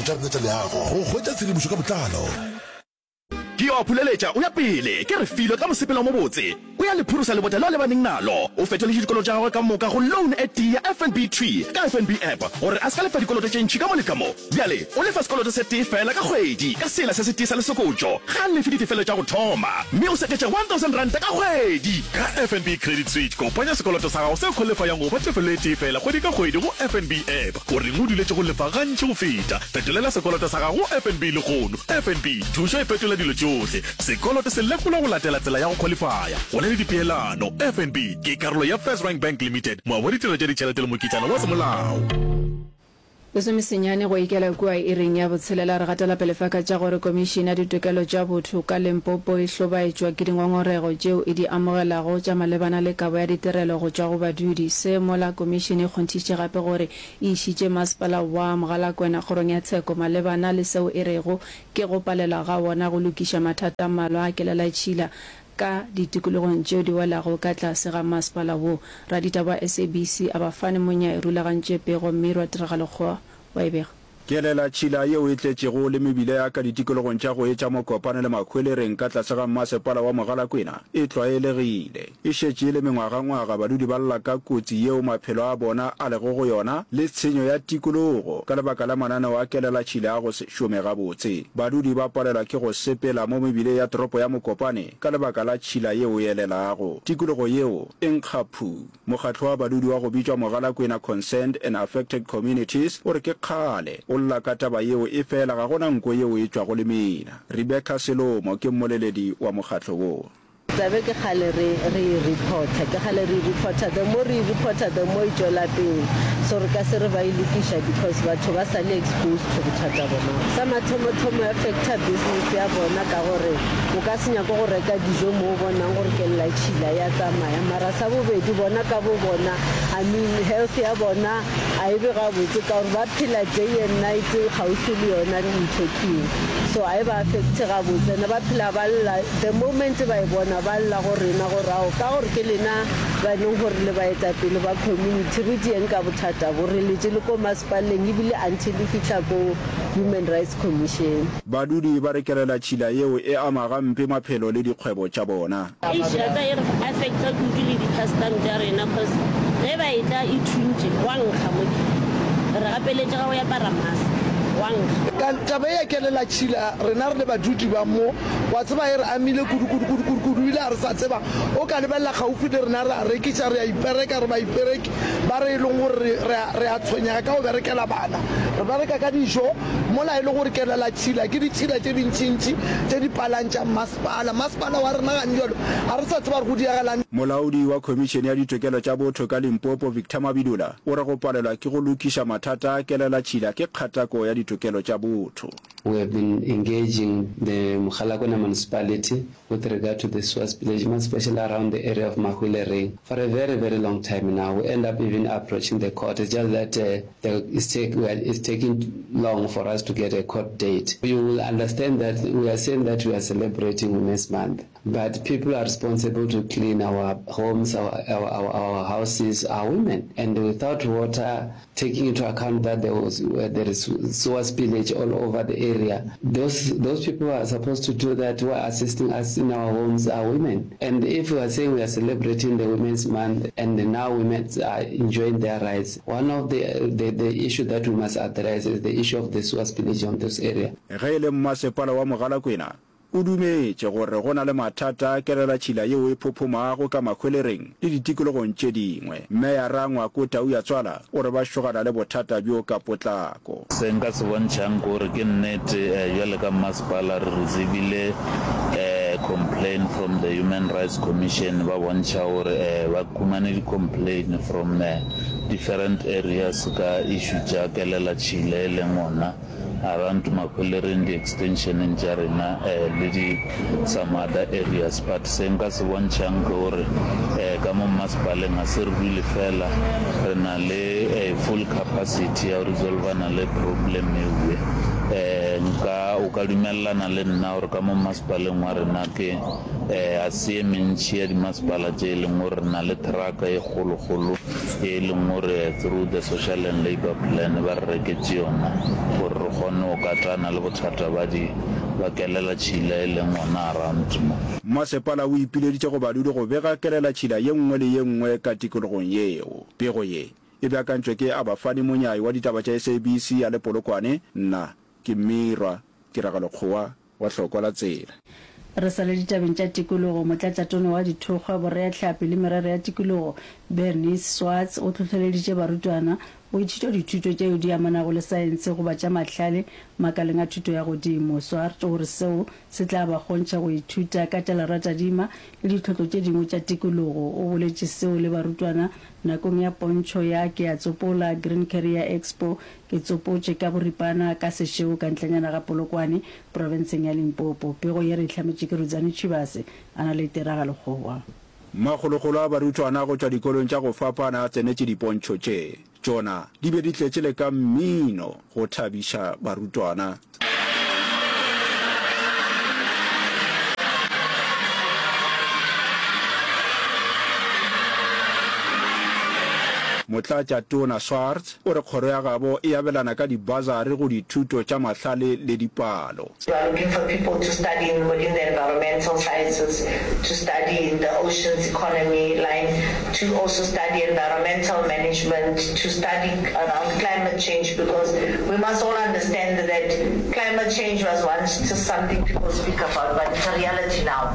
Tša rena tša leago go hwetša tshedimošo ka botlalo. Ke yo a phuleletša o ya pele, ke Refilwe ka mosepelo o mobotse. O ya le phurosa lebota leo a lebaneng nalo. O fetoletše dikoloto tša gagwe ka moka go loan e tee ya FNB thwi ka FNB app gore a se ka lefa dikoloto tše ntši ka mo le ka mo. Bjale o lefa sekoloto se tee feela ka kgwedi ka sela se setee sa lesokotšo. Ga a lefe ditefelo tša go thoma mme o seketša R1000 ka kgwedi. Ka FNB Credit Switch, kopanya sekoloto sa gago se khwalifayang go ba tefelo e tee feela kgwedi ka kgwedi go FNB app. O reng o duletše go lefa gantši go feta? Fetolela sekoloto sa gago go FNB lehono. FNB, thušo e fetola dilo tšohle. Sekoloto se lekolwa go latela tsela ya go khwalifaya. Go na le dipeelano. FNB ke karolo ya FirstRand Bank Limited, moabi wa ditirelo tša ditšhelete le mokitlana wa semolao. Lesomesenyane go ikela kua iring ya botshelela re gatela pele fa ka tša gore Komišene ya Ditokelo tša Botho ka Limpopo e hlobaetšwa ke dingongorego tšeo e di amogelago tša malebana le kabo ya ditirelo go tšwa go badudi. Se mola komišene e kgonthišitše gape gore e išitše masepala wa Mogalakwena kgorong ya tsheko malebana le seo e rego ke go palelwa ga wona go lokiša mathata a mmalwa a kelelatšhila ka ditikologong tšeo di welago ka tlase ga masepala wo. Raditaba wa SABC Abafani Monyai rulagantše pego mme Rwatiragalo Kgowa wa e bega. Kelelatšhila yeo e tletšego le mebila ya ka ditikologong tša go etša Mokopane le Mahwelereng ka tlase ga mmasepala wa Mogalakwena e tlwaelegile. E šetše e le mengwagangwaga badudi ba lla ka kotsi yeo maphelo a bona a lego go yona le tshenyo ya tikologo ka lebaka la mananeo a kelelatšhila a go se šome gabotse. Badudi ba palelwa ke go sepela mo mebileng ya toropo ya Mokopane ka lebaka la tšhila yeo e elelago. Tikologo yeo e nkga phu. Mokgatlo wa badudi wa go bitšwa Mogalakwena Concerned and Affected Communities o re ke kgale o lla ka taba yeo efela ga gona nko yeo e tšwago lemina. Rebecca Selomo ke mmoleledi wa mokgatlo wo. Tabe ke kgale re re e reporter, ke kgale re e reporter, the more re e reporter the more e tšwela pele, so re ka se re ba e lokiša because batho ba sa le exposed to bothata bona. Sa mathomothomo e affecta business ya bona ka gore o ka se nyake go reka dijo mo o bonang gore kelelatšhila ya tsamaya, mara sa bobedi bona ka bo bona I mean health ya bona a e be gabotse ka gore ba phela day and night kgauswi le yona ntho keo so a e ba affecte gabotse ene ba phela ba lla The moment ba e bona, ba lla go rena gore ao, ka gore ke lena ba e leng gore le baetapele ba community, re dieng ka bothata bo, re letše le ko masepaleng ebile until e fihla ko Human Rights Commission. Badudi ba re kelelatšhila yeo e ama gampe maphelo le dikgwebo tša bona. Eish ya tsa e re affecta kudu le di custom tša rena cause ge ba etla e thuntše gwa nkga mo re gapeletšega go apara mask gwa nkga. Ka taba ye ya kelelatšhila rena re le badudi ba mo Wa tseba, e re amile kudu, kudu, kudu, kudu, kudu. Ebile ga re sa tseba. O ka lebelela kgaufi le rena, re a rekiša, re a ipereka, re baipereki ba re e leng gore re, re a, re a tshwenyega ka go berekela bana. Re bereka ka dijo, mola e le gore kelelatšhila ke ditšhila tše dintšintši tše di palang tša mmasepala. Mmasepala wa rena gane bjalo ga re sa tseba gore go diregelang. Molaodi wa Khomišene ya Ditokelo tša Botho ka Limpopo, Victor Mabidola, o re go palelwa ke go lokiša mathata a kelelatšhila ke kgatako ya ditokelo tša botho. We have been engaging the Mogalakwena Municipality with regard to the sewer spillage, more especially around the area of Mahwelereng, for a very, very long time now. We end up even approaching the court. It's just that the, it's, take, we are, it's taking long for us to get a court date. You will understand that we are saying that we are celebrating Women's Month, but people are responsible to clean our homes, our, our, our, our houses are women. And without water, taking into account that there was uh, there is sewer spillage all over the area those those people who are supposed to do that who are assisting us in our homes are women and if we are saying we are celebrating the women's month and now women are enjoying their rights one of the the, the issue that we must address is the issue of the sewer spillage on this area Ge e le mmasepala wa Mogalakwena, O dumetše gore go na le mathata a kelelatšhila yeo e phophomago ka Mahwelereng le ditikologong tše dingwe. Meyara Ngwako Tauyatswala o re ba šogana le bothata bjo ka potlako. Se nka se bontšhang ke gore ke nnete bjale ka mmasepala re receivile complain from the Human Rights Commission ba bontšha gore ba khumane di complain from different areas ka issue tša kelelatšhila e leng gona Around Mahwelereng di extensioneng tša rena le di some other areas but se nka se bontšhang ke gore ka mo mmasepaleng ga se re dule fela re na le full capacity ya go resolvana le problem ewe. Nka. O ka dumelelana le nna gore ka mo mmasepaleng wa rena ke a se ye mentši ya dimasepala tše e leng gore re na le truck e kgolokgolo ye e leng gore through the Social and Labour Plan ba re reketše yona gore re kgone go katana le bothata ba di ba kelelatšhila e leng gona around mo. Mmasepala o ipileditše go badudi go bega kelelatšhila ye nngwe le ye nngwe ka tikologong yeo. Pego ye e beakantšwe ke Abafani Monyai wa ditaba tša SABC ya le Polokwane, nna ke Mmirwa Tiragalo Kgowa wa Hlokwa la Tsela. Re sa le ditabeng tša tikologo, Motlatšatona wa Dithokgwa, Boreahlapi le Merero ya Tikologo, Bernice Swartz o hlohleleditše barutwana go ithuta dithuto tšeo di amanago le saense goba tša mahlale makaleng a thuto ya godimo. Swart o re seo se tla ba kgontšha go ithuta ka tša leratadima le ditlhotlo tše dingwe tša tikologo. O boletše seo le barutwana nakong ya pontšho ya Ke a Tsopola Green Career Expo Ke tsopotše ka boripana ka sešego ka ntlenyana ga Polokwane, profenseng ya Limpopo. Pego ye re e hlametše ke Rudzani Tshivhase, a na le tiragalo Kgowa. Makgolokgolo a barutwana go tšwa dikolong tša go fapana a tsenetše dipontšho tše. Tšona di be di tletše le ka mmino go thabiša barutwana. Motlatšatona Swartz o re kgoro ya gabo e abelana ka dibasari go dithuto tša mahlale le dipalo. We are looking for people to study in in the environmental sciences, to study in the oceans economy line, to also study environmental management, to study around climate change because we must all understand that climate change was once just something people speak about but it's a reality now.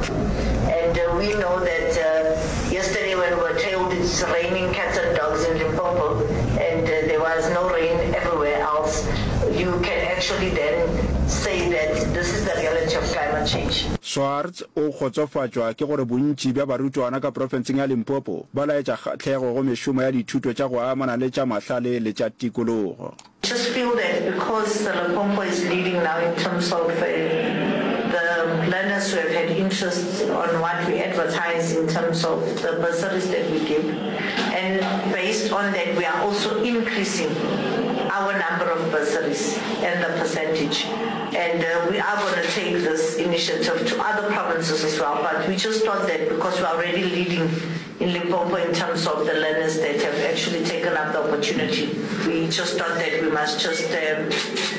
And uh, we know that uh, yesterday when we were told it's raining cats and dogs in Limpopo and uh, there was no rain everywhere else, you can actually then say that this is the reality of climate change. Swartz o kgotsofatšwa ke gore bontši bja barutwana ka profenseng ya Limpopo ba laetša kgahlego go mešomo ya dithuto tša go amana le tša mahlale le tša tikologo. Just feel that because Limpopo is leading now in terms of the learners who have had interest on what we advertise in terms of the bursaries that we give and based on that we are also increasing our number of bursaries and the percentage and uh, we are going to take this initiative to other provinces as well but we just thought that because we are already leading in Limpopo in terms of the learners that have actually taken up the opportunity we just thought that we must just um,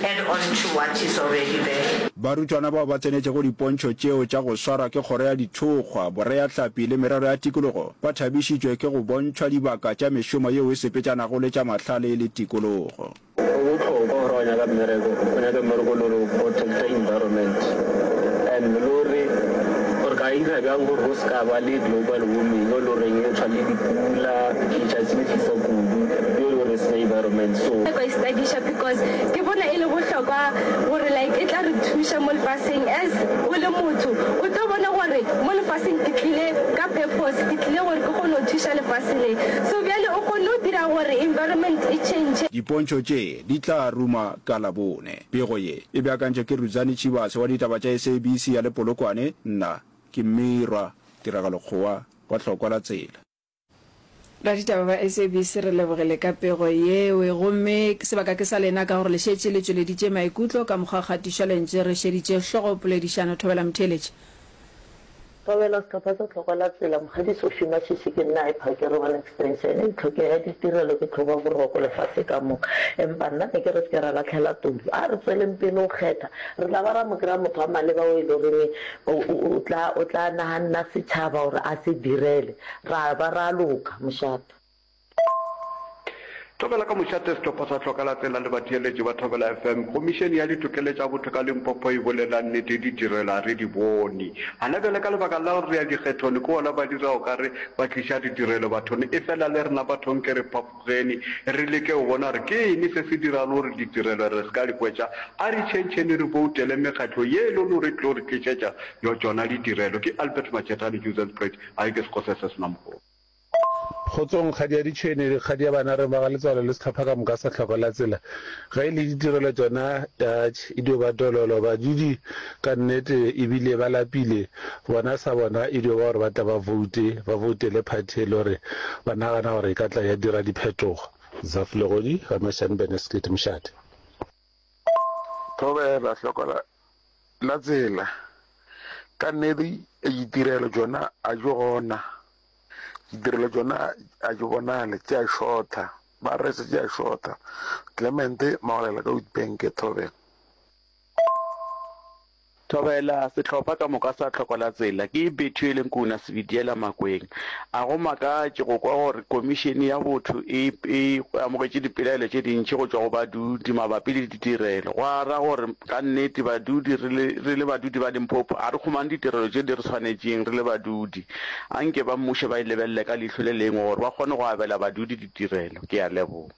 add on to what is already there. Barutwana bao ba tsenetšego dipontšho tšeo tša go swarwa ke Kgoro ya Dithokgwa, Boreahlapi le Merero ya Tikologo ba thabišitšwe ke go bontšhwa dibaka tša mešomo yeo e sepetšanago le tša mahlale le tikologo. Go bohlokwa gore wa nyaka mmereko, o nyake mmereko o le gore o protecta environment and le gore re ka ira bjang gore go se ka ba le global warming e le goreng e tshwana le dipula, letšatši le fisa kudu yo e le gore e senya environment so. Ka e studiša because ke bona e le bohlokwa gore like e tla re thuša mo lefaseng as o le motho o tlo bona gore mo lefaseng ke tlile ka purpose ke tlile gore ke kgone go thuša lefase le so bjale o kgonne go dira gore environment e change. Dipontšho tše di tla ruma ka Labone. Pego ye e beakantšwe ke Rudzani Tshivhase wa ditaba tša SABC ya le Polokwane, nna ke Mmirwa Tiragalo Kgowa wa Hlokwa la Tsela. Raditaba ba SABC re lebogile ka pego yeo gomme sebaka ke sa lena ka gore le šetše le tšweleditše maikutlo ka mokgwa wa kgatišo lentše re šeditše hlogo poledišano Thobela Motheeletši. Thobela sehlopha sa Tlhokwa la Tsela Mokgadi Sophie Mashishi ke nna Hyper One Extension e tlhokego ya ditirelo ke tlhoba boroko lefase ka moka empa nna ne ke re se ke ra lahlela toulo a re tsweleng pele go kgetha re tla ba ra mo kry-a motho wa maleba o e le goreng o tla o tla naganna setšhaba gore a se direle Ra ba ra loka, mošate. Thobela ka mošate sehlopha sa Hloka la Tsela le batheeletši ba Thobela FM. Khomišene ya Ditokelo tša Botho ka Limpopo e bolela nnete ditirelo a re di bone. Gana bjale ka lebaka la gore re ya dikgethong ke gona ba dira o ka re ba tliša ditirelo bathong efela le rena bathong ke re phafogeni re leke go bona gore ke eng se se dirang gore ditirelo re se ka di hwetša. A re tšhentšheni re boutele mekgatlo ye e le gore e tlo re tlišetša tšona ditirelo. Ke Albert Machetane, Johannesburg. A ke sekgo se se se na mohola. Kgotsong, kgadi ya ditšhwene le kgadi ya bana re ba ga letswalo le sehlopha ka moka sa hloko la tsela. Ge e le ditirelo tšona atš e dio ba dololo. Badudi ka nnete e bile ba lapile. Bona sa bona e dio ba gore ba tla ba voute, ba voutele party e le gore ba nagana gore e ka tla ya dira diphetogo. Zaf Legodi, Ga Mashane Beneskit, Mošate. Thobela, hlokola. la tsela, ka nnete ditirelo tšona a di gona, ditirelo tšona a di bonale, tše a šotha, ba re se tše a šotha. Clement Maolela ka Witbank, Thobela. Thobela, Sehlopha ka moka sa Tlhokolatsela ke Bethuel Nkuna Sebidiela Makweng. A go makatše go kwa gore Komišene ya Botho e e amogetše dipelaelo tše dintši go tšwa go badudi mabapi le ditirelo. Go a ra gore ka nnete badudi re le re le badudi ba Limpopo a re humane ditirelo tše di re swanetšeng re le badudi. Anke ba mmušo ba e lebelele ka leihlo le lengwe gore ba kgone go abela badudi ditirelo. Ke a leboga.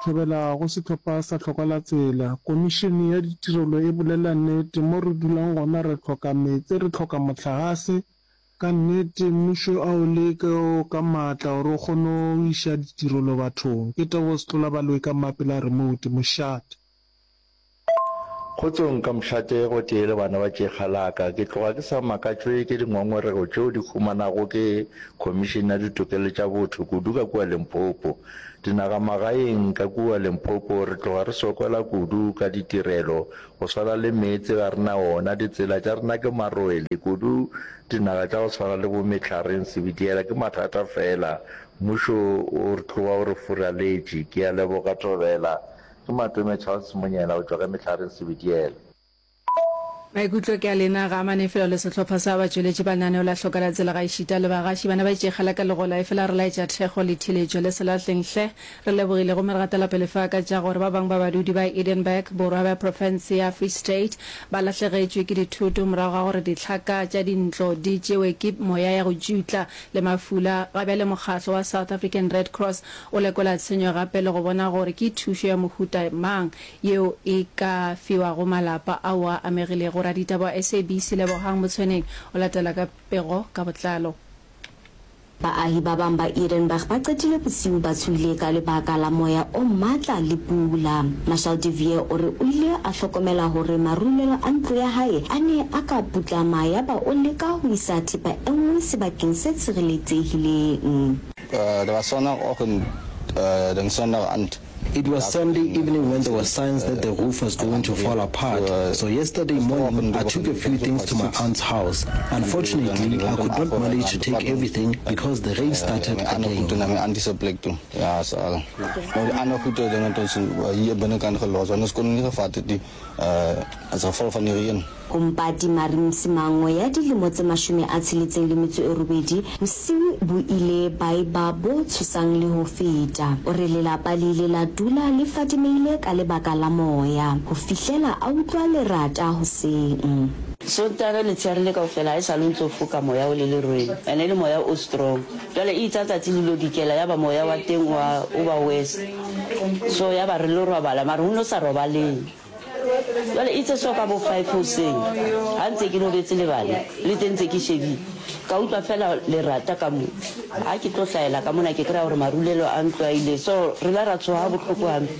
Thobela go sehlopha sa Hloka la Tsela. Komišene ya ditirelo e bolela nnete, mo re dulang gona re hloka meetse, re hloka mohlagase. Ka nnete mmušo a o leke ka maatla gore o kgone go iša ditirelo bathong. Ke Tebogo Setlola Baloyi ka Mmapela Remote, Mošate. Kgotsong ka mošate gotee le bana ba tšekga la ka. Ke tloga ke sa makatšwe ke dingongorego tšeo di humanago ke Khomišene ya Ditokelo tša Botho kudu ka kua Limpopo. Dinagamagaeng ka kua Limpopo re tloga re sokola kudu ka ditirelo go swana le meetse ga re na ona, ditsela tša rena ke marwele kudu dinaga tša go swana le bo Mehlareng, Sebitiela ke mathata fela. Mmušo o re tloga o re furaletše. Ke a leboga Thobela. Ke Matome Charles Monyela go tšwa ka Mehlareng Sebediela. Maikutlo ke a lena, ga amane fela le sehlopha sa batšweletši ba lenaneo la Hloka la Tsela gaešita le bagaši. Bana ba itšegela ka legola efela re laetša thekgo le theeletšo le se lahleng hle. Re lebogile gomme re gatela pele fa ka tša gore ba bangwe ba badudi ba Edenburg, borwa bja profense ya Free State, ba lahlegetšwe ke dithoto morago ga gore dihlaka tša dintlo di tšewe ke moya ya go tšutla le mafula. Ga bjale mokgahlo wa South African Red Cross O lekola tshenyo gape le go bona gore ke thušo ya mohuta mang yeo e ka fiwago malapa ao a amegilego. Raditaba wa SABC Lebohang Motshweneng o latela ka pego ka botlalo. Baahi ba bang ba Edenburg ba qetile bosiu ba tshohile ka lebaka la moya o matla le pula. Marshal de Vier o re o ile a hlokomela hore marulelo a ntlo ya hae a ne a ka putlama yaba o leka ho isa thepa e nngwe sebakeng se tshireletsehileng. Dit was Sondagoggend, dink Sondag aand. It was Sunday evening when there were signs that the roof was going to fall apart, so yesterday morning I took a few things to my aunt's house. Unfortunately, I could not manage to take everything because the rain started again. Toe na my auntie se plek toe. Ja, so al. Nou die ander goede dinge het ons hier binnekant gelos want ons kon nie gevat het nie as gevolg van die reën. Ho Mpati Marie Msimango ya dilemo tse 68, bosiu bo ile ba eba bo tshosang le ho feta. O re lelapa le ile la dula le fadimehile ka lebaka la moya ho fihlela a utlwa lerata hoseng. Sontaga letsheare le kaofela ha e sale o ntso foka moya o le lerweng ene e le moya o strong jwale e itsa tsatsi le lo dikela yaba moya wa teng wa o ba worse so yaba re lo robala mara ho no sa robaleng. Jwale itse so ka bo five hoseng ha ntse ke robetse le bana le teng ntse ke shebile ka utlwa fela lerata ka mo ha ke tlo hlahela ka mona ke kry-a gore marulelo a ntlo a ile so re la ra tshoga bohloko hampe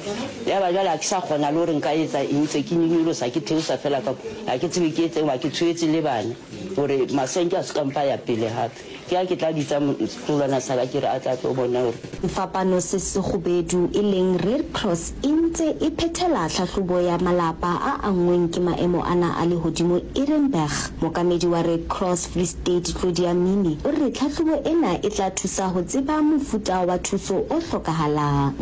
ya ba jwale ha ke sa kgona le gore nka etsa eng ntse ke nyonyolosa ke theosa fela ka mo ha ke tsebe ke etseng hoba ke tshohetse le bana gore masenke a se ka mpa ya pele hape Ke ha ke tla bitsa setlolwana sa ka ke re a tla tlo bona hore. Sefapano se sekgubedu e leng Red Cross e ntse e phethela tlhahlobo ya malapa a anngweng ke maemo ana a lehodimo Edenburg. Mookamedi wa Red Cross Free State Claudia Mini o re tlhahlobo ena e tla thusa ho tseba mofuta wa thuso o hlokahalang.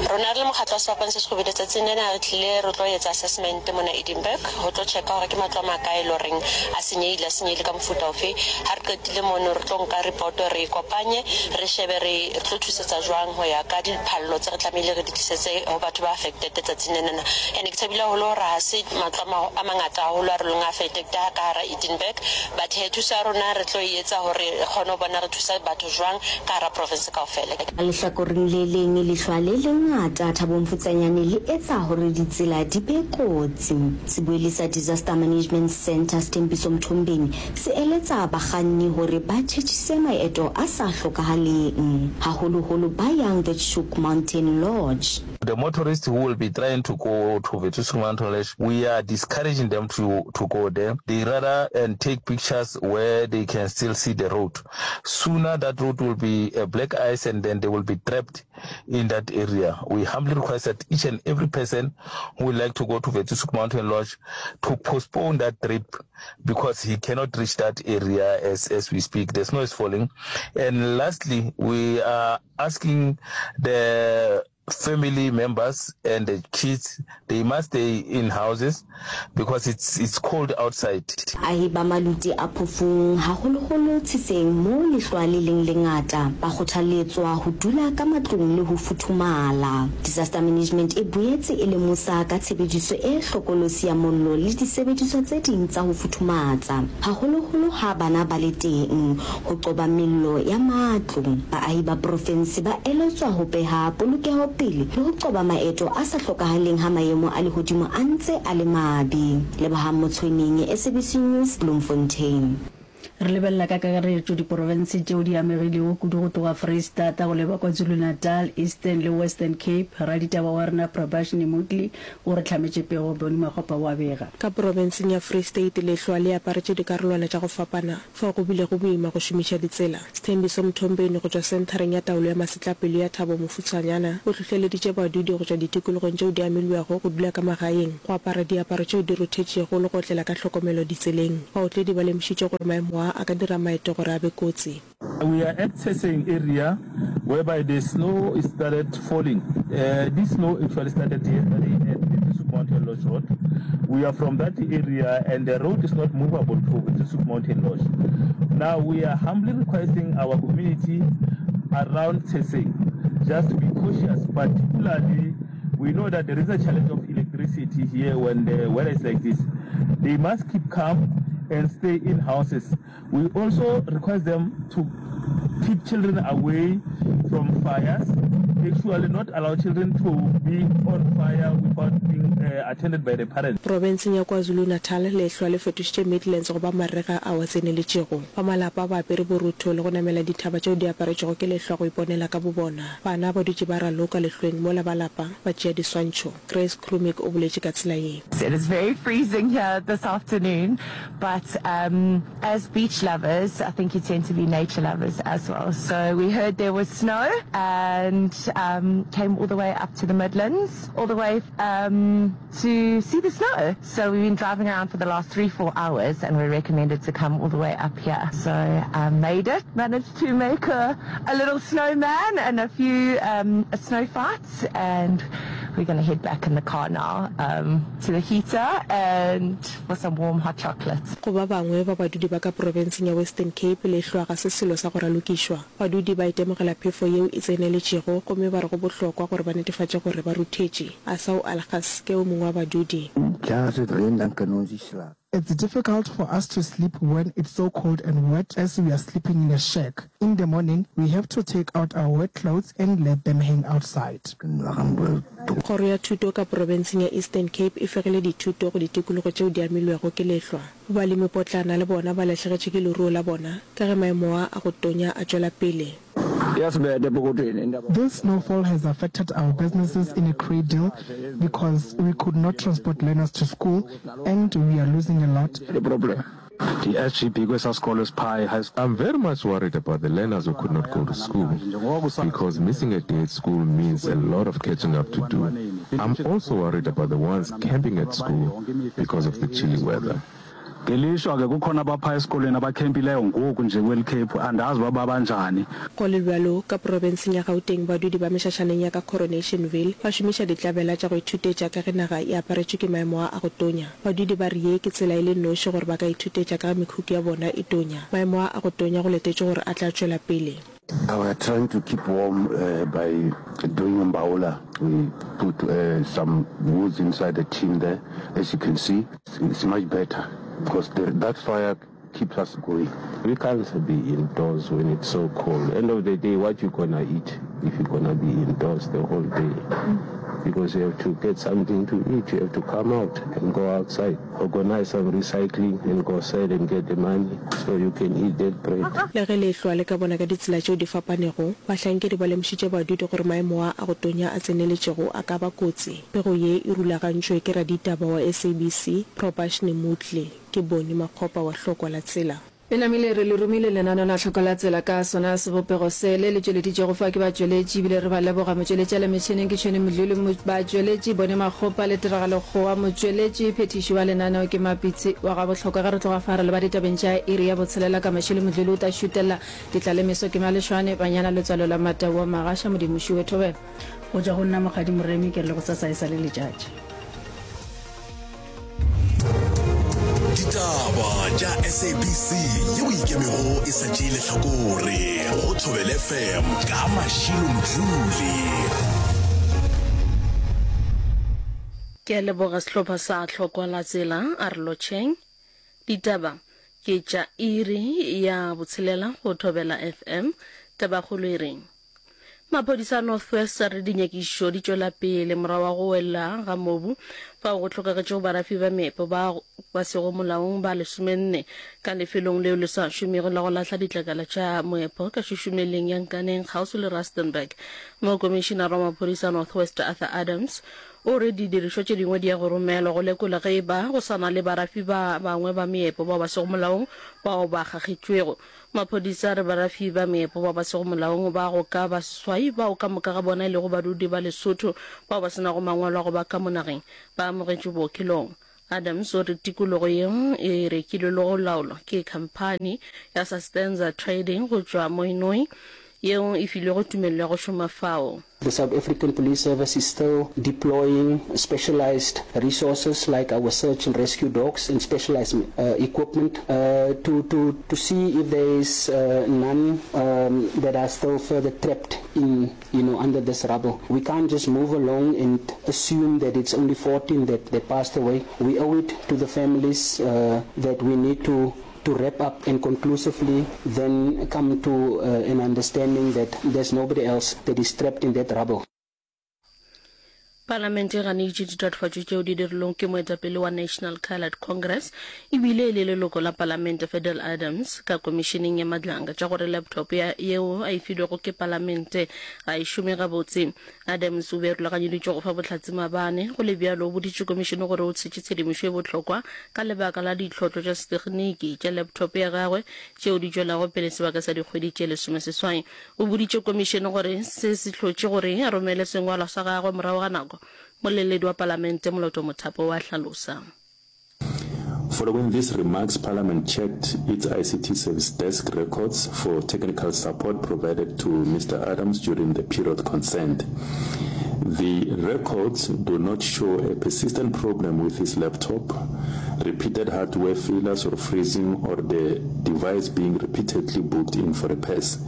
Rona re le mokgatlo wa Sefapano se Sekgubedu tsatsing lena re tlile re tlo etsa assessment mona Edinburgh ho tlo checka hore ke matlo a makae e le horeng a senyehile, a senyehile ka mofuta ofe. Ha re qetile mono re tlo nka report re e kopanye re shebe re tlo thusetsa jwang ho ya ka diphallo tse re tlamehile re di tlisetse ho batho ba affected tsatsing lenana. Ene ke thabile haholo hore ha se matlo a mangata haholo a re leng a affected ka hara Edinburgh but hee thuso ya rona re tlo e etsa hore re kgone ho bona re thusa batho jwang ka hara province kaofela. Ka lehlakoreng le leng, lehlwa le lengata Thabong Mfutsanyane le etsa hore ditsela di be kotsi. Sebuelli sa Disaster Management Centre, Sthembiso Mthombeni, se eletsa bakganni hore ba tjhetjhise maeto a sa hlokahaleng, haholoholo ba yang Withoek Mountain Lodge. The motorists who will be trying to go to Witwatersrand Mountain Lodge, we are discouraging them to, to go there. They rather and take pictures where they can still see the road. Sooner that road will be uh, black ice and then they will be trapped in that area. We humbly request that each and every person who would like to go to Witwatersrand Mountain Lodge to postpone that trip because he cannot reach that area as, as we speak. The snow is falling. And lastly, we are asking the family members and the kids they must stay in houses because it's it's cold outside. Baahi ba Maluti a Phofung, haholoholo Tshiseng moo lehlwa le leng lengata, ba kgothaletswa ho dula ka matlong le ho futhumala. Disaster Management e boetse e lemosa ka tshebediso e hlokolosi ya mollo le disebediswa tse ding tsa ho futhumatsa, haholoholo ha bana ba le teng, Ho qoba mello ya matlo, baahi ba porofense ba eletswa ho beha polokeho pele le ho qoba maeto a sa hlokahaleng ha maemo a lehodimo a ntse a le mabe. Lebohang Motshweneng, SABC News, Bloemfontein. Re lebelela ka kakaretšo diporofense tšeo di amegilego kudu go tloga Freistata go leba KwaZulu-Natal, Eastern le Western Cape. Raditaba wa rena Prabashni Moodley o re hlametše pego, Bonnie Makgopa o a bega. Ka porofenseng ya Free State lehlwa le aparetše dikarolwana tša go fapana. Fao go bilego boima go šomiša ditsela. Sthembiso Mthombeni go tšwa Senthareng ya Taolo ya Masetlapelo ya Thabo Mofutshwanyana o hlohleleditše badudi go tšwa ditikologong tšeo di amilwego go dula ka magaeng, go apara diaparo tšeo di ruthetšego le go otlela ka hlokomelo ditseleng. Baotledi ba lemošitše gore maemo a a ka dira maeto gore a be kotsi. We are at Tsheseng area whereby the snow is started falling. This snow actually started yesterday at the Tsisuk Mountain Lodge road. We are from that area and the road is not movable to Tsisuk Mountain Lodge. Now we are humbly requesting our community around Tsheseng just to be cautious, particularly we know that there is a challenge of electricity here when the weather is like this. They must keep calm and stay in houses. We also request them to keep children away from fires, actually not allow children to be on fire without being uh, attended by the parents. Profenseng ya KwaZulu-Natal, lehlwa le fetošitše Midlands go ba marega ao a tseneletšego. Ba malapa ba apere borutho le go namela dithaba tšeo di aparetšwego ke lehlwa go iponela ka bobona. Bana ba dutše ba raloka lehlweng mola ba lapa ba tšea diswantšho. Grace Krumik o boletše ka tsela ye. It is very freezing here this afternoon but um as beach lovers I think you tend to be nature lovers as well so we heard there was snow and um came all the way up to the Midlands all the way um to see the snow so we've been driving around for the last 3-4 hours and we're recommended to come all the way up here so I made it managed to make a a little snowman and a few um snow fights and we're gonna head back in the car now um to the heater and for some warm hot chocolate. Go ba bangwe ba badudi ba ka profenseng ya Western Cape, lehlwa ga se selo sa go ralokišwa. Badudi ba itemogela phefo yeo e tseneletšego gomme ba re go bohlokwa gore ba netefatše gore ba ruthetše. Asau Algas ke o mongwe wa badudi. Ja, as dit reën dan kan ons nie slaap. It's difficult for us to sleep when it's so cold and wet as we are sleeping in a shack. In the morning, we have to take out our wet clothes and let them hang outside. Kgoro ya Thuto ka porobenseng ya Eastern Cape e fegile dithuto go ditikologo tšeo di amilwego ke lehlwa. Balemipotlana le bona ba lahlegetšwe ke leruo la bona ka ge maemo a a go tonya a tšwela pele. This snowfall has affected our businesses in a great deal because we could not transport learners to school and we are losing a lot. I'm very much worried about the learners who could not go to school because missing a day at school means a lot of catching up to do. I'm also worried about the ones camping at school because of the chilly weather. Ngelishwa ke kukhona abapha esikolweni abakhempileyo ngoku nje kweli khephu, andazi uba babanjani. Go le bjalo, ka profenseng ya Gauteng badudi ba mešašaneng ya ka Coronationville ba šomiša ditlabela tša go ithutetša ka ge naga e aparetšwe ke maemo a a go tonya. Badudi ba re ye ke tsela e le noši gore ba ka ithutetša ka ge mekhukhu ya bona e tonya. Maemo a a go tonya go letetšwe gore a tla tšwela pele. We are trying to keep warm by doing mbaula, we put some woods inside the tin there as you can see. It's much better because the, that fire keeps us going. We can't be indoors when it's so cold. End of the day, what you gonna eat if you gonna be indoors the whole day? because you have to get something to eat, you have to come out and go outside, organize some recycling and go sell and get the money so you can eat that bread. Le ge lehlwa le ka bona ka ditsela tšeo di fapanego, bahlankedi ba lemošitše badudi gore maemo a a go tonya a tseneletšego a ka ba kotsi. Pego ye e rulagantšwe ke raditaba wa SABC, Propashni Moodley. Ke Bonnie Makgopa wa Hlokwa la Tsela. Le namile re le romile lenaneo la Hloko la Tsela ka sona sebopego se le le tšweleditšwego fa ke batšweletši ebile re ba leboga. Motšweletši a le metšhineng ke Tšhwene Mdluli, batšweletši Bone Makgopa le Tiragalo Kgowa, motšweletši phethiši wa lenaneo ke Mapitsi wa ga Bohlokwa. Ge re tloga fa re leba ditabeng tša iri ya botshelela ka Mashilo Mdluli o ta šutella Ditlalemeso ke Malešwane, Banyana Letswalo la Matau wa Magasha Modimo Šiwe Thobela. Go tšwa go nna Mokgadi Moremi ke re le gosasa e sa le letšatši. Ditaba tša SABC yeo e ikemego e sa tšee lehlakore go Thobela FM ka Mashilo Mdluli. Ke a leboga sehlopha sa Tlhokwa la Tsela, a re lotšheng. Ditaba ke tša iri ya botshelela go Thobela FM. Tabakgolo e reng? Maphodisa a North West a re dinyakišišo di tšwela pele morago ga go wela ga mobu fao go hlokagetšego barafi ba meepo ba ba sego molaong ba lesomenne ka lefelong leo le sa šomego la go lahla ditlakala tša moepo ka šušumeleng ya Nkaneng kgauswi le Rustenburg. Mokomišinara wa maphodisa a North West Arthur Adams o re didirišwa tše dingwe di ya go romelwa go lekola ge e ba go sa na le barafi ba bangwe ba meepo bao ba sego molaong bao ba kgakgetšwego. Maphodisa a re barafi ba meepo bao ba sego molaong ba go ka ba seswai, bao ka moka ga bona e lego badudi ba Lesotho bao ba se nago mangwalo a go ba ka mo nageng, ba amogetšwe bookelong. Adams o re tikologo yeo e rekilwe le go laolwa ke khamphani ya Sustenza Trading go tšwa Mooinooi yeo e filwego tumelelo ya go šoma fao. The South African Police Service is still deploying specialized resources like our search and rescue dogs and specialized equipment to, to, to see if there is none um, that are still further trapped in, you know, under this rubble. We can't just move along and assume that it's only 14 that, that passed away. We owe it to the families uh, that we need to to wrap up and conclusively then come to uh, an understanding that there's nobody else that is trapped in that rubble. Palamente e ganeditše ditatofatšo tšeo di dirilwego ke moetapele wa National Coloured Congress ebile e le leloko la palamente Fadil Adams ka komišeneng ya Madlanga tša gore laptop ya yeo a e filwego ke palamente ga e šome gabotse. Adams o be a rulaganyeditšwe go fa bohlatse maabane. Go le bjalo, o boditše komišene gore o tshetše tshedimošo e bohlokwa ka lebaka la ditlhotlo tša setegniki tša laptop ya gagwe tšeo di tšwelago pele sebaka sa dikgwedi tše lesomeseswai. O boditše komišene gore se se hlotše gore a romele sengwalwa sa gagwe morago ga nako, moleledi wa palamente Moloto Mothapo wa hlalosa. Following these remarks, Parliament checked its ICT service desk records for technical support provided to Mr Adams during the period concerned. The records do not show a persistent problem with his laptop, repeated hardware failures or freezing, or the device being repeatedly booked in for repairs.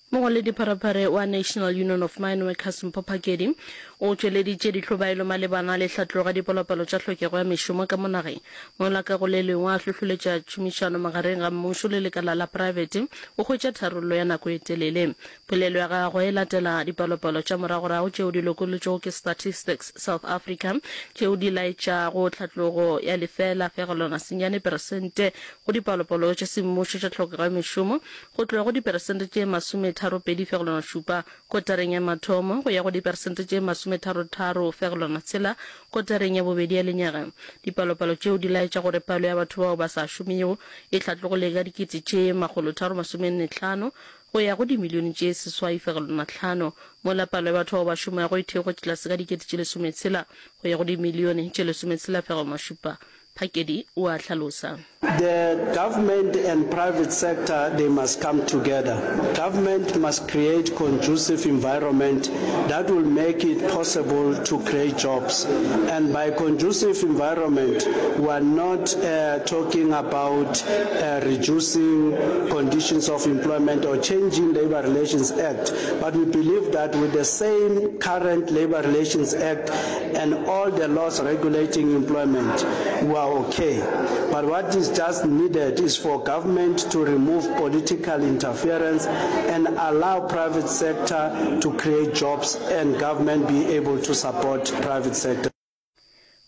Mongwaledipharephare wa National Union of Mineworkers Mpho Phakedi o tšweleditše dihlobaelo malebana le hlatlogo ya dipalopalo tša hlokego ya mešomo ka mo nageng, mola ka go le lengwe a hlohloletša tšhomišano magareng ga mmušo le lekala la praebete go hwetša tharollo ya nako e telele. Polelo ya gagwe e latela dipalopalo tša moragorago tšeo di lokolotšwego ke Statistics South Africa tšeo di laetšago tlhatlogo ya lefeela fegelwana senyane peresente go dipalopalo tša semmušo tša tlhokego ya mešomo go tloga go diperesente tše masometharopedi fegelwana šupa kotareng ya mathomo go ya go diperesente tše masometharotaro fegelwana tshela kotareng ya bobedi ya lenyaga. Dipalopalo tšeo di laetša gore palo ya batho bao ba sa šomego e hlatlogile ka dikete tše makgolotharo masomenne hlano go ya go dimilione tše seswai fegelwana hlano, mola palo ya batho bao ba šomago e theogetše tlase ka dikete tše lesometshela go ya go dimilione tše lesometshela fegelwana šupa. Phakedi o a hlalosa. The government and private sector they must come together. Government must create conducive environment that will make it possible to create jobs. And by conducive environment we are not uh, talking about uh, reducing conditions of employment or changing Labor Relations Act, but we believe that with the same current Labor Relations Act and all the laws regulating employment, we are are okay. But what is just needed is for government to remove political interference and allow private sector to create jobs and government be able to support private sector.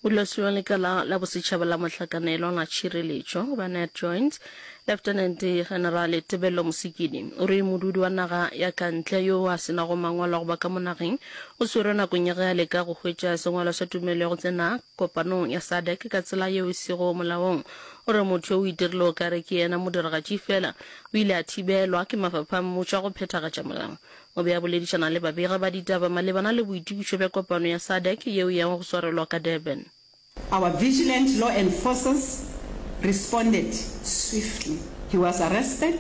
Modulasetulo wa Lekala la Bosetšhaba la Mohlakanelwa la Tšhireletšo goba NatJoints, Lieutenant General Tebello Mosikili, o re modudi wa naga ya ka ntle yo a se nago mangwalo a go ba ka mo nageng o swerwe nakong ya ge a leka go hwetša sengwalwa sa tumelelo ya go tsena kopanong ya SADC ka tsela yeo e sego molaong. O re motho yo o itirile o ka re ke yena modiragatši fela o ile a thibelwa ke mafapha a mmušo a go phethagatša molao. O be a boledišana le babegi ba ditaba malebana le boitokišo bja kopano ya SADC yeo e yago go swarelwa ka Durban. Our vigilant law enforcers responded swiftly. He was arrested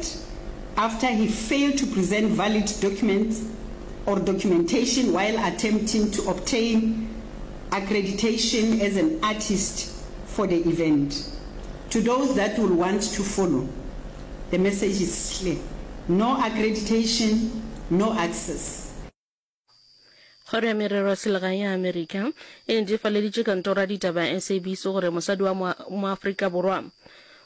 after he failed to present valid documents or documentation while attempting to obtain accreditation as an artist for the event. To those that will want to follow, the message is clear. No accreditation, no access. Kgoro ya Merero ya Selegae ya Amerika e netefaleditše kantoro ya ditaba ya SABC gore mosadi wa Moafrika Borwa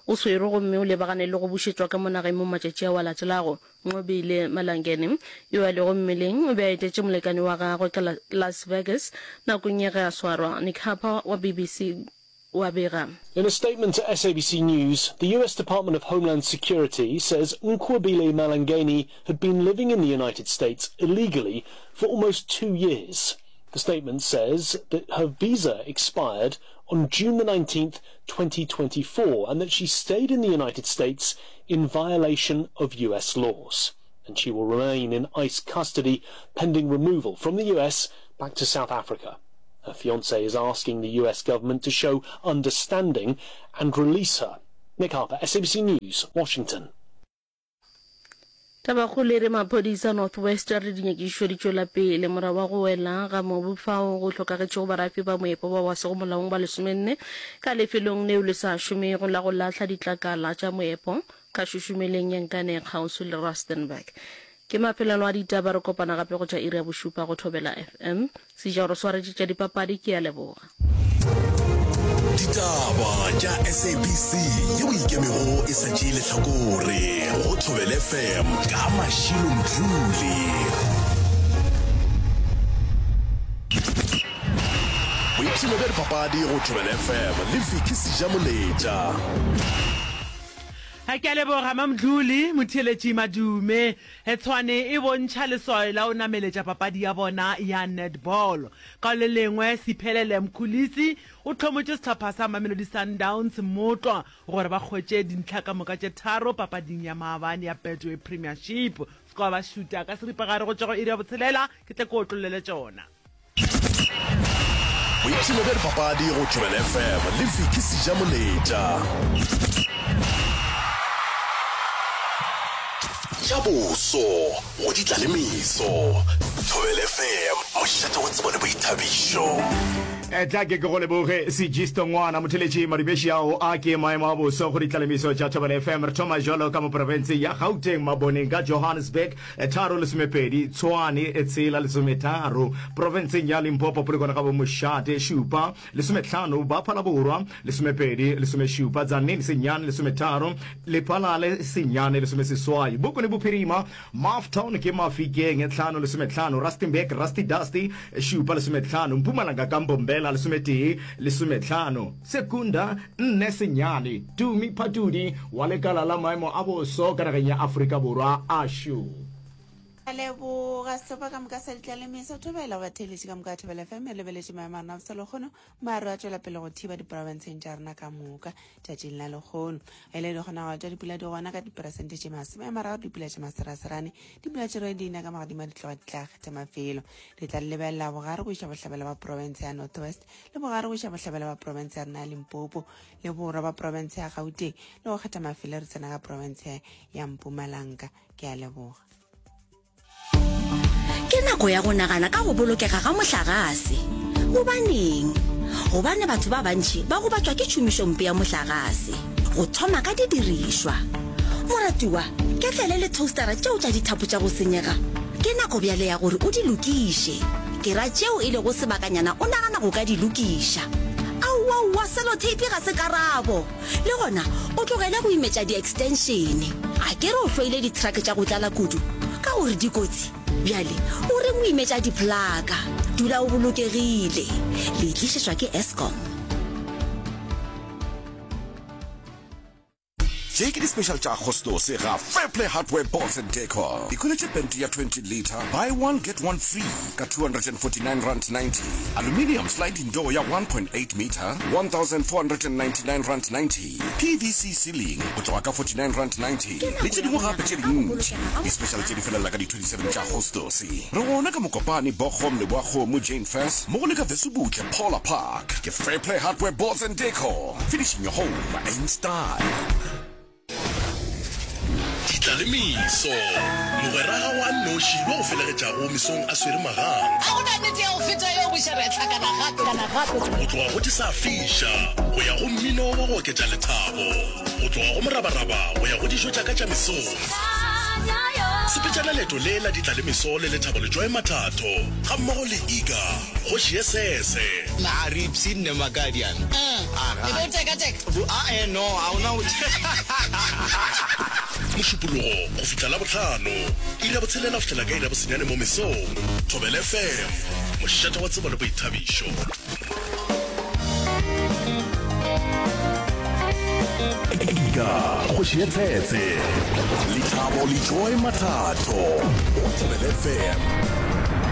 o swerwe gomme o lebagane le go bušetšwa ka mo nageng mo matšatši ao a latelago. Nqobile Malangeni, yo a lego mmeleng, o be a etetše molekane wa gagwe ka Las Vegas nakong ya ge a swarwa. Nick Harper wa BBC o a bega. In a statement to SABC News, the US Department of Homeland Security says Nqobile Malangeni had been living in the United States illegally for almost two years. The statement says that her visa expired on June the 19th, 2024, and that she stayed in the United States in violation of US laws. And she will remain in ICE custody pending removal from the US back to South Africa. Her fiance is asking the US government to show understanding and release her. Nick Harper, SABC News, Washington. Tabakgolo e re maphodisa North West a re dinyakišišo di tšwela pele morago wa go wela ga mobu fao go hlokagetšego barafi ba moepo bao ba sego molaong ba lesomenne ka lefelong leo le sa šomego la go lahla ditlakala tša moepo ka šušumeleng ya Nkane kgauswi le Rustenburg. Ke mafelelo a ditaba, re kopana gape go tša iri ya bošupa go Thobela FM. Seja o re swaretše tša dipapadi, ke a leboga. Ditaba tša SABC yeo e ikemego e sa tšee lehlakore go Thobela FM ka Mashilo Mdluli. Boipshino bja dipapadi go Thobela FM le Vicky Sejamoletša. Ke a leboga Mamdluli, motheeletši Madume. Tshwane e bontšha leswayo la go nameletša papadi ya bona ya netball. Ka le lengwe, Siphelele Mkhulisi o hlomotše sehlopha sa Mamelodi Sundowns mmotlwa gore ba hwetše dintlha ka moka tše tharo papading ya maabane ya Betway Premiership. Se ka ba šuta ka seripagare go tšwa go iri ya botshelela, ke tle ke otlollele tšona. Boipshino bja dipapadi go Thobela FM le Vicky Sejamoletša. Tša boso go di tla le meso. Thobela FM, mošate wa tsebo le boithabišo. Tla ke ke go leboge Sejisto ngwana motheletši Madubeši ao a ke maemo a boso go ditlalemiso tša Thobela FM. Re thoma jalo ka mo profenseng ya Gauteng Maboneng ka Johannesburg Tharo lesomepedi, Tshwane, tshela lesometharo, profenseng ya Limpopo, Polokwane ga Bomošate, šupa, lesometlhano, ba Phalaborwa, lesomepedi, lesomešupa, Tzaneen, senyane, lesometharo, Lephalale, senyane, lesomeseswai, Bokone Bophirima, Maftown ke Mafikeng, tlhano, lesometlhano, Rustenburg, Rusty Dusty, šupa, lesometlhano, Mpumalanga ka Mbombela, lesometee, lesometlhano, Secunda, nne, senyane, Tumi Phatudi wa lekala la maemo a boso ka nageng ya Afrika Borwa, ASHU. A leboga sehlopha ka moka sa ditlalemeso thobela go batheeletši ka moka Thobela FM e lebeletše maemo a rena botse lekgono. Maru a tšwela pele go thiba diprofenseng tša rena ka moka tšatšing la lekgono. E le dikgonagalo tša dipula di gona ka diperesente tše 30 dipula tše maseraserane dipula tše rwe di na ka magadima di tloga di tla kgetha mafelo. Re tla lebelela bogare go iša bohlabela ba profense ya North West le bogare go iša bohlabela ba profense ya rena ya Limpopo le borwa ba profense ya Gauteng le go kgetha mafelo re tsena ka profense ya Mpumalanga. Ke a leboga. Ke nako ya go nagana ka go bolokega ga mohlagase. Gobaneng? Gobane batho ba bantši ba gobatšwa ke tšhomišompe ya mohlagase, go thoma ka didirišwa. Moratiwa, ketlele le toastara tšeo tša dithapo tša go senyega, ke nako bjale ya gore o di lokiše. Ke ra tšeo e lego sebakanyana o nagana go ka di lokiša. Aowaowa! Sellotape ga se karabo. Le gona o tlogele go imetša di-extension. A ke re o hloile di-truck tša go tlala kudu ka gore di kotsi? Bjale o reng o imetša di-plaka? Dula o bolokegile. Le e tlišetšwa ke Eskom. Tše ke di-special tša Agostose ga Fairplay Hardware Boards and Decor. Ikhweletše pente ya 20 litre, buy one get one free ka R249.90. Aluminium sliding door ya 1.8 metre, R1,499.90. PVC ceiling go tloga ka R49.90 le tše dingwe gape tše dintši. Di-special tše di felela ka di 27 tša Agostose. Re gona ka Mokopane, Bochum, Leboakgomo, Jane Furse, mmogo le ka Vesubutle, Paula Park. Ke Fairplay Hardware Boards and Decor. Finishing your home in style. Ditlalemiso, Mogwera gago a nnoši yo a go felegetšago mesong a swere magang. Ga go na nnete ya go feta yeo buša re a hlakana gape. Go tloga go di sa fiša go ya go mmino wa go oketša lethabo, go tloga go morabaraba go ya go dijo tša ka tša mesong. Sepetšana leeto le la ditlalemiso le Lethabo Letšoe Mathatho gammogo le Iga Kgoši ye Sese. Na re ipshinne Makadiana? E be o teka-teka? Ae, no, ga o na go. Mošupologo go fihla Labohlano, iri ya botshelela go fihlela ka iri ya bosenyane mo mesong. Thobela FM, mošate wa tsebo le boithabišo. Ika, kgoši ye tshetse, Lethabo le Joy Mathatho, go Thobela FM.